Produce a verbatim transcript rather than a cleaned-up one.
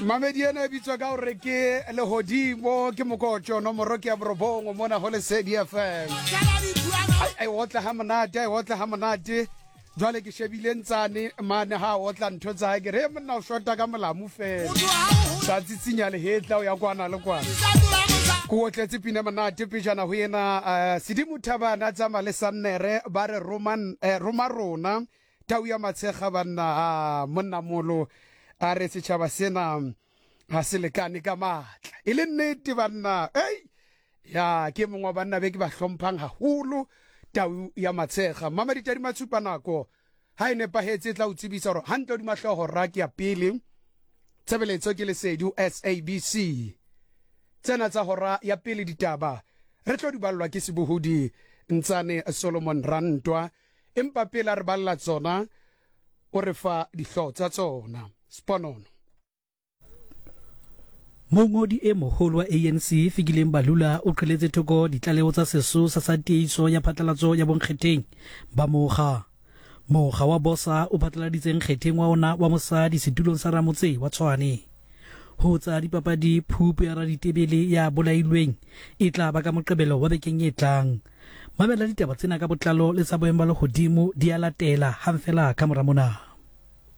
Mamedi ena e bitswa ka hore ke Lehodimo, ke mokotjo nomoro ke ya borobong mona ho Lesedi F M. Ai, ai otla ha monate, ai otla ha monate. Jwale ke shebile ntsane mane ha otla ntho tsa hae, ke re monna o shota ka molamu fela, sa tsitsinya lehetla o ya kwana le kwana. Ke otletse pina monate pejana ho ena, uh, Sedimo Thabana tsamaya le Sannere ba re roman eh, roma rona tau ya Matshega banna. A monna molo a re setšhaba sena ha se lekane ka matla, e le nnete banna. Ei ya, ke mongwe wa banna be ke ba hlomphang haholo, tau ya Matshega. Mama ditadi matshupa nako ha e nepahetse e tla o tsebisa hore hantle hodima hlooho ra ke ya pele tshebeletso ke Lesedi S A B C. Tsena tsa hora ya pele ditaba re tlo di ballwa ke sebohodi Ntsane Solomon Rantwa, empa pele a re balla tsona o re fa dihlooho tsa tsona. Sponono. Mongodi e moholo wa A N C Fikile Mbalula o qheletse thoko ditlaleho tsa sesosa sa tiehiso ya phatlalatso ya bonkgetheng ba mokga. Mokga wa BOSA o phatlaladitse nkgetheng wa ona wa mosadi setulong sa ramotse wa Tshwane. Ho tsa dipapadi, phupu ya raditebele ya bolailweng e tla ba ka Moqebelo wa bekeng e tlang. Mamela ditaba tsena ka botlalo le tsa boemo ba lehodimo di a latela hang fela ka mora mona.